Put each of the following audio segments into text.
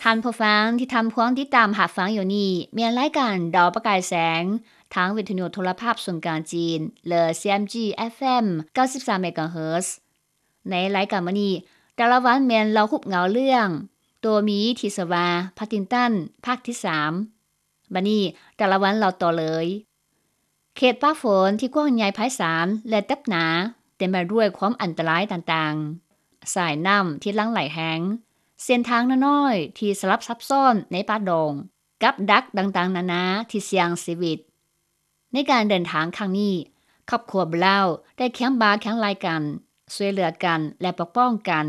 ທ່ານຜູ້ຟັງທີ່ທ່ານພວມຕິດຕາມຮັບຟັງຢູ່ນີ້ ແມ່ນລາຍການດາວປະກາຍແສງ ທາງວິທະຍຸໂທລະພາບສູນກາງຈີນ ຫຼື CMG FM ເກົ້າສິບສາມ MHz. ໃນລາຍການມື້ນີ້ ແຕ່ລະວັນແມ່ນເລົ່າຮູບເງົາເລື່ອງ ໂຕມີທີ່ຊື່ວ່າ Paddington ພາກທີສາມ. ບັດນີ້ ແຕ່ລະວັນເລົ່າຕໍ່ເລີຍ. ເຂດປ່າຝົນທີ່ກວ້າງໃຫຍ່ໄພສານ ແລະ ແຕັບໜາ ເຕັມໄປດ້ວຍຄວາມອັນຕະລາຍຕ່າງໆ, ສາຍນ້ຳທີ່ຫຼັ່ງໄຫຼແຮງ, ເສັ້ນທາງນ້ອຍໆທີ່ສະຫຼັບຊັບຊ້ອນໃນປ່າດົງ, ກັບດັກຕ່າງໆນານາທີ່ສ່ຽງຊີວິດ. ໃນການເດີນທາງຄັ້ງນີ້, ຄອບຄົວ Brown ໄດ້ຄຽງບ່າຄຽງໄຫຼ່ກັນ, ຊ່ວຍເຫຼືອກັນ ແລະ ປົກປ້ອງກັນ.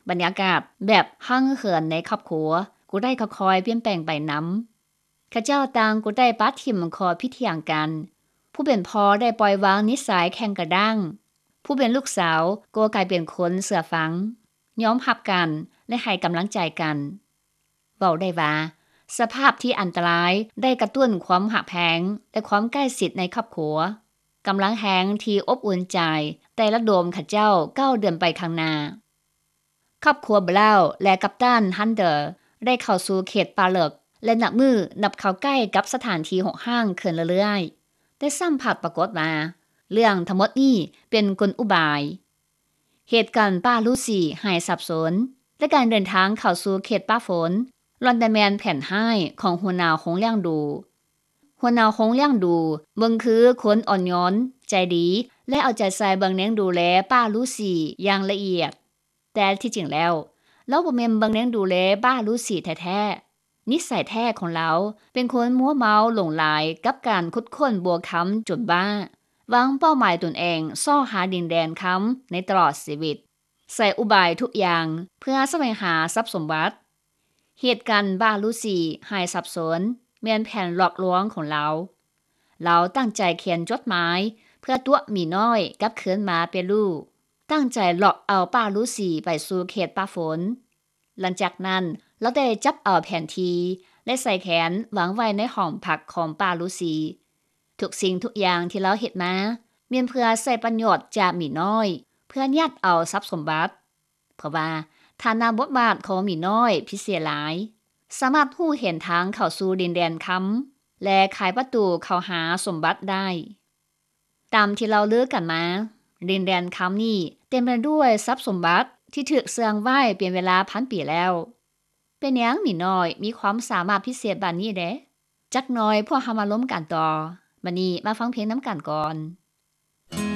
ບັນຍາກາດແບບຮັ່ງເຫີນໃນຄອບຄົວກໍໄດ້ຄ່ອຍໆປ່ຽນແປງໄປນຳ. ເຂົາເຈົ້າຕ່າງກໍໄດ້ປະຖິ້ມຂໍ້ຜິດຖຽງກັນ. ຜູ້ເປັນພໍ່ໄດ້ປ່ອຍວາງນິໄສແຂງກະດ້າງ. ຜູ້ເປັນລູກສາວກໍກາຍເປັນຄົນເຊື່ອຟັງ, ຍອມຮັບກັນ ແລະ ໃຫ້ກຳລັງໃຈກັນ. ເວົ້າໄດ້ວ່າ ສະພາບທີ່ອັນຕະລາຍໄດ້ກະຕຸ້ນຄວາມຮັກແພງ ແລະ ຄວາມໃກ້ຊິດໃນຄອບຄົວ. ກຳລັງແຮງທີ່ອົບອຸ່ນໃຈໄດ້ລະດົມເຂົາເຈົ້າກ້າວເດີນໄປຂ້າງໜ້າ. ຄອບຄົວ Brown ແລະ ກັບຕັນ Hunter ໄດ້ເຂົ້າສູ່ເຂດປ່າເລິກ ແລະ ນັບມື້ນັບເຂົ້າໃກ້ກັບສະຖານທີ່ຮົກຮ້າງຂຶ້ນເລື້ອຍໆ. ແຕ່ຊ້ຳພັດປາກົດວ່າ ເລື່ອງທັງໝົດນີ້ເປັນກົນອຸບາຍ. ເຫດການປ່າລູຊີຫາຍສາບສູນ ແລະ ການເດີນທາງເຂົ້າສູ່ເຂດປ່າຝົນ ລ້ວນແຕ່ແມ່ນແຜນຮ້າຍຂອງຫົວໜ້າໂຮງລ້ຽງດູ. ຫົວໜ້າໂຮງລ້ຽງດູເບິ່ງຄືຄົນອ່ອນໂຍນ, ໃຈດີ ແລະ ເອົາໃຈໃສ່ເບິ່ງແຍງດູແລປ່າລູຊີຢ່າງລະອຽດ. ແຕ່ທີ່ຈິງແລ້ວ ລາວບໍ່ແມ່ນເບິ່ງແຍງດູແລປ່າລູຊີແທ້ໆ. ນິໄສແທ້ຂອງລາວເປັນຄົນມົວເມົາຫຼົງໄຫຼກັບການຂຸດຄົ້ນບົວຄຳຈົນບ້າ, ວາງເປົ້າໝາຍຕົນເອງຊອກຫາດິນແດນຄຳໃນຕະຫຼອດຊີວິດ, ໃຊ້ອຸບາຍທຸກຢ່າງເພື່ອສະແຫວງຫາຊັບສົມບັດ. ເຫດການປ່າລູຊີຫາຍສາບສູນແມ່ນແຜນຫຼອກລວງຂອງລາວ. ລາວຕັ້ງໃຈຂຽນຈົດໝາຍເພື່ອຕົວະໝີນ້ອຍກັບຄືນມາເປັນລູກ, ຕັ້ງໃຈຫຼອກເອົາປ່າລູຊີໄປສູ່ເຂດປ່າຝົນ. ຫຼັງຈາກນັ້ນ ລາວໄດ້ຈັບເອົາແຜນທີ່ ແລະ ສາຍແຂນວາງໄວ້ໃນຫ້ອງພັກຂອງປ່າລູຊີ. ທຸກສິ່ງທຸກຢ່າງທີ່ລາວເຮັດມາ ແມ່ນເພື່ອໃຊ້ປະໂຫຍດຈາກໝີນ້ອຍ ເພື່ອຍາດເອົາຊັບສົມບັດ. ເພາະວ່າຖານະບົດບາດຂອງໝີນ້ອຍພິເສດຫຼາຍ, ສາມາດຮູ້ເຫັນທາງເຂົ້າສູ່ດິນແດນຄຳ ແລະ ໄຂປະຕູເຂົ້າຫາສົມບັດໄດ້. ຕາມທີ່ເລົ່າລືກັນມາ, ດິນແດນຄຳນີ້ເຕັມໄປດ້ວຍຊັບສົມບັດທີ່ຖືກເຊື່ອງໄວ້ເປັນເວລາພັນປີແລ້ວ. ເປັນຫຍັງໝີນ້ອຍມີຄວາມສາມາດພິເສດບາດນີ້ແດ່? ຈັກໜ່ອຍພວກເຮົາມາລົມກັນຕໍ່. ບັດນີ້ມາຟັງເພງນຳກັນກ່ອນ.